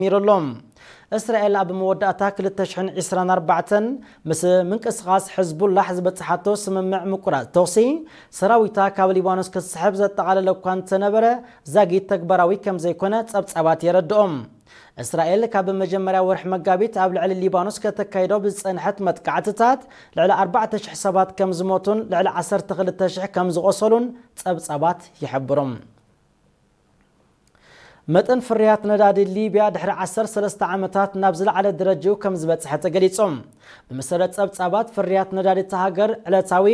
ጀሚሩ ኣሎ። እስራኤል ኣብ መወዳእታ ክልተ ሽሕን ዕስራን ኣርባዕተን ምስ ምንቅስቓስ ሕዝቡላሕ ዝበጽሓቶ ስምምዕ ምቁራጽ ተኹሲ፣ ሰራዊታ ካብ ሊባኖስ ክትስሕብ ዘጠቓለለ እኳ እንተነበረ፣ ዛጊት ተግባራዊ ከም ዘይኮነ ጸብጻባት የረድኦም። እስራኤል ካብ መጀመርያ ወርሒ መጋቢት ኣብ ልዕሊ ሊባኖስ ከተካይዶ ብዝጸንሐት መጥቃዕትታት፣ ልዕሊ ኣርባዕተ ሽሕ ሰባት ከም ዝሞቱን ልዕሊ ዓሰርተ ክልተ ሽሕ ከም ዝቖሰሉን ጸብጻባት ይሕብሩ። መጠን ፍርያት ነዳዲ ሊብያ ድሕሪ ዓሰርተ ሰለስተ ዓመታት ናብ ዝለዓለ ደረጃኡ ከም ዝበጽሐ ተገሊጹ። ብመሰረት ጸብጻባት ፍርያት ነዳዲ እታ ሃገር፣ ዕለታዊ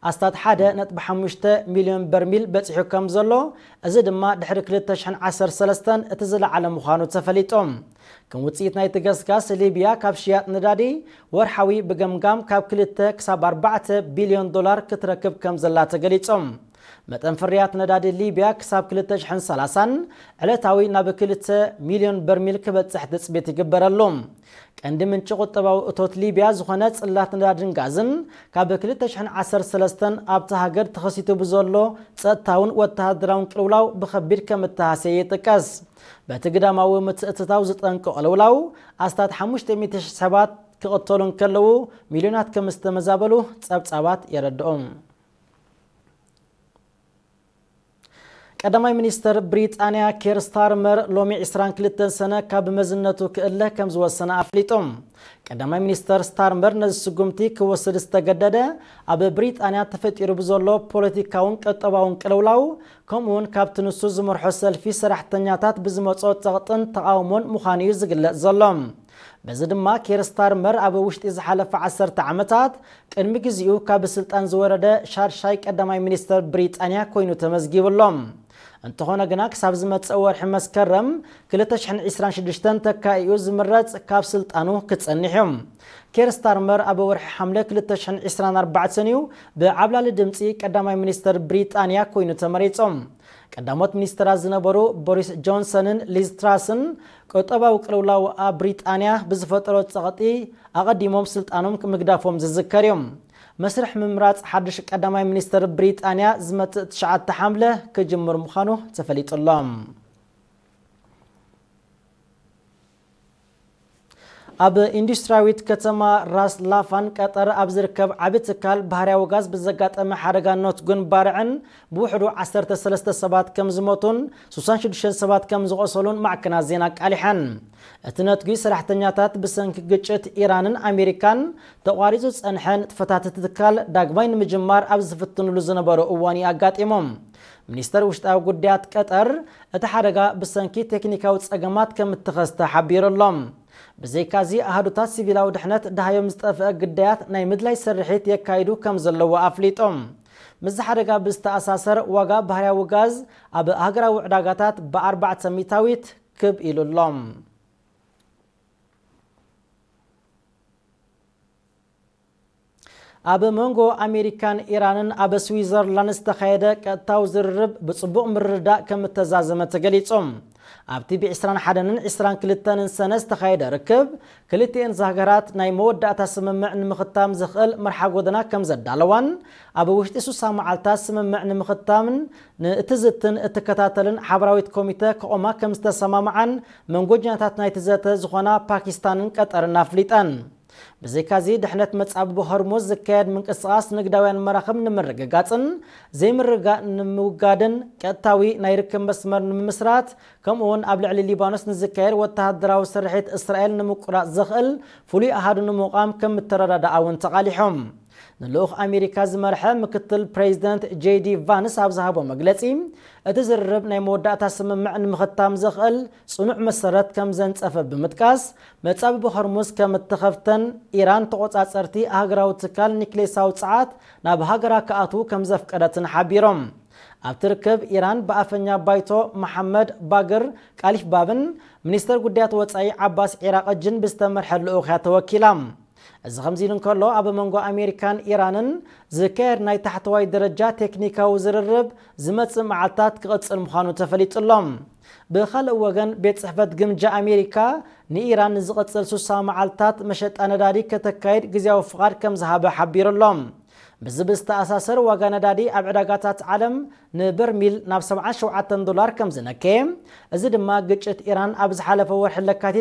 ኣስታት ሓደ ነጥቢ ሓሙሽተ ሚልዮን በርሚል በጺሑ ከም ዘሎ፣ እዚ ድማ ድሕሪ ክልተ ሽሕን ዓሰርተ ሰለስተን እቲ ዝለዓለ ምዃኑ ተፈሊጡ። ከም ውጽኢት ናይቲ ገስጋስ፣ ሊብያ ካብ ሽያጥ ነዳዲ ወርሓዊ ብገምጋም ካብ ክልተ ክሳብ ኣርባዕተ ቢልዮን ዶላር ክትረክብ ከም ዘላ ተገሊጹ። መጠን ፍርያት ነዳዲ ሊብያ ክሳብ ክልተ ሽሕን ሰላሳን ዕለታዊ ናብ ክልተ ሚልዮን በርሚል ክበጽሕ ትጽቢት ይግበረሉ። ቀንዲ ምንጪ ቁጠባዊ እቶት ሊብያ ዝኾነ ጽላት ነዳድን ጋዝን፣ ካብ ክልተ ሽሕን ዓሰርተ ሰለስተን ኣብታ ሃገር ተኸሲቱ ብዘሎ ጸጥታውን ወተሃደራውን ቅልውላው ብኸቢድ ከም እተሃሰየ ይጥቀስ። በቲ ግዳማዊ ምትእትታው ዝጠንቆ ቅልውላው፣ ኣስታት ሓሙሽተ ሚእቲ ሽሕ ሰባት ክቕተሉ እንከለዉ፣ ሚልዮናት ከም ዝተመዛበሉ ጸብጻባት የረድኡ። ቀዳማይ ሚኒስተር ብሪጣንያ ኬር ስታርመር ሎሚ ዕስራን ክልተን ሰነ ካብ መዝነቱ ክእለ ከም ዝወሰነ ኣፍሊጡ። ቀዳማይ ሚኒስተር ስታርመር ነዚ ስጉምቲ ክወስድ ዝተገደደ፣ ኣብ ብሪጣንያ ተፈጢሩ ብዘሎ ፖለቲካውን ቁጠባውን ቅልውላው፣ ከምኡውን ካብቲ ንሱ ዝመርሖ ሰልፊ ሰራሕተኛታት ብዝመጾ ጸቕጥን ተቓውሞን ምዃኑ እዩ ዝግለጽ ዘሎ። በዚ ድማ ኬር ስታርመር ኣብ ውሽጢ ዝሓለፈ ዓሰርተ ዓመታት ቅድሚ ግዜኡ ካብ ስልጣን ዝወረደ ሻድሻይ ቀዳማይ ሚኒስተር ብሪጣንያ ኮይኑ ተመዝጊቡ ኣሎ። እንተኾነ ግና ክሳብ ዝመጽእ ወርሒ መስከረም ክልተ ሽሕን ዕስራን ሽዱሽተን ተካኢኡ ዝምረጽ ካብ ስልጣኑ ክጸንሕ እዩ። ኬር ስታርመር ኣብ ወርሒ ሓምለ ክልተ ሽሕን ዕስራን ኣርባዕተን እዩ ብዓብላሊ ድምጺ ቀዳማይ ሚኒስተር ብሪጣንያ ኮይኑ ተመሪጹ። ቀዳሞት ሚኒስተራት ዝነበሩ ቦሪስ ጆንሰንን ሊዝ ትራስን ቁጠባዊ ቅልውላው ኣብ ብሪጣንያ ብዝፈጠሮ ጸቕጢ ኣቐዲሞም ስልጣኖም ምግዳፎም ዝዝከር እዩ። መስርሕ ምምራጽ ሓድሽ ቀዳማይ ሚኒስተር ብሪጣንያ ዝመጽእ ትሽዓተ ሓምለ ክጅምር ምዃኑ ተፈሊጡ ኣሎ። ኣብ ኢንዱስትሪያዊት ከተማ ራስ ላፋን ቀጠር ኣብ ዝርከብ ዓቢ ትካል ባህርያዊ ጋዝ ብዘጋጠመ ሓደጋ ኖትጉን ባርዕን ብውሕዱ ዓሰርተ ሰለስተ ሰባት ከም ዝሞቱን ስሳን ሽዱሽተን ሰባት ከም ዝቖሰሉን ማዕከናት ዜና ኣቃሊሐን። እቲ ነትጒ ሰራሕተኛታት ብሰንኪ ግጭት ኢራንን ኣሜሪካን ተቋሪጹ ዝጸንሐ ንጥፈታት እቲ ትካል ዳግማይ ንምጅማር ኣብ ዝፍትንሉ ዝነበሩ እዋን እዩ ኣጋጢሞም። ሚኒስተር ውሽጣዊ ጉዳያት ቀጠር እቲ ሓደጋ ብሰንኪ ቴክኒካዊ ጸገማት ከም እተኸስተ ሓቢሩ ኣሎ። ብዘይካዚ ኣሃዱታት ሲቪላዊ ድሕነት ደሃዮም ዝጠፍአ ግዳያት ናይ ምድላይ ስርሒት የካይዱ ከም ዘለዉ ኣፍሊጦም። ምስዚ ሓደጋ ብዝተኣሳሰር ዋጋ ባህርያዊ ጋዝ ኣብ ሃገራዊ ዕዳጋታት ብኣርባዕተ ሚእታዊት ክብ ኢሉ ኣሎ። ኣብ መንጎ ኣሜሪካን ኢራንን ኣብ ስዊዘርላንድ ዝተኻየደ ቀጥታዊ ዝርርብ ብጽቡቕ ምርድዳእ ከም እተዛዘመ ተገሊጹ። ኣብቲ ብ ዕስራን ሓደን ዕስራን ክልተን ሰነ ዝተኻየደ ርክብ፣ ክልቲኤን ሃገራት ናይ መወዳእታ ስምምዕ ንምኽታም ዘኽእል መርሓ ጎደና ከም ዘዳለዋን፣ ኣብ ውሽጢ ስሳ መዓልታት ስምምዕ ንምኽታምን ንእትዝትን እትከታተልን ሓበራዊት ኮሚተ ክቖማ ከም ዝተሰማምዓን መንጎኛታት ናይቲ ዘተ ዝኾና ፓኪስታንን ቀጠርን ኣፍሊጠን። ብዘይካዚ፣ ድሕነት መጻብቦ ሆርሙዝ ዝካየድ ምንቅስቓስ ንግዳውያን መራኽብ ንምርግጋጽን ዘይምርግጋእ ንምውጋድን፣ ቀጥታዊ ናይ ርክብ መስመር ንምምስራት፣ ከምኡውን ኣብ ልዕሊ ሊባኖስ ንዝካየድ ወተሃደራዊ ስርሒት እስራኤል ንምቁራጽ ዘኽእል ፍሉይ ኣሃዱ ንምቋም ከም እተረዳድኣ እውን ተቓሊሖም። ንልኡኽ ኣሜሪካ ዝመርሐ ምክትል ፕሬዚደንት ጄዲ ቫንስ ኣብ ዝሃቦ መግለጺ፣ እቲ ዝርርብ ናይ መወዳእታ ስምምዕ ንምኽታም ዘኽእል ጽኑዕ መሰረት ከም ዘንጸፈ ብምጥቃስ፣ መጻብቦ ሆርሙዝ ከም እተኸፍተን ኢራን ተቖጻጸርቲ ኣህጉራዊ ትካል ኒክሌሳዊ ጸዓት ናብ ሃገራ ክኣትዉ ከም ዘፍቀደትን ሓቢሮም። ኣብቲ ርክብ፣ ኢራን ብኣፈኛ ባይቶ መሓመድ ባግር ቃሊፍ ባብን ሚኒስተር ጉዳያት ወጻኢ ዓባስ ዒራቕጅን ብዝተመርሐ ልኡኽ እያ ተወኪላ። እዚ ከምዚ ኢሉ እንከሎ፣ ኣብ መንጎ ኣሜሪካን ኢራንን ዝካየድ ናይ ታሕተዋይ ደረጃ ቴክኒካዊ ዝርርብ ዝመጽእ መዓልታት ክቕጽል ምዃኑ ተፈሊጡ ኣሎ። ብኻልእ ወገን፣ ቤት ጽሕፈት ግምጃ ኣሜሪካ ንኢራን ንዝቕጽል ስሳ መዓልታት መሸጣ ነዳዲ ከተካይድ ግዜያዊ ፍቓድ ከም ዝሃበ ሓቢሩ ኣሎ። ብዚ ብዝተኣሳሰር ዋጋ ነዳዲ ኣብ ዕዳጋታት ዓለም ንበርሚል ናብ ሰብዓን ሸውዓተን ዶላር ከም ዝነከየ፣ እዚ ድማ ግጭት ኢራን ኣብ ዝሓለፈ ወርሒ ለካቲት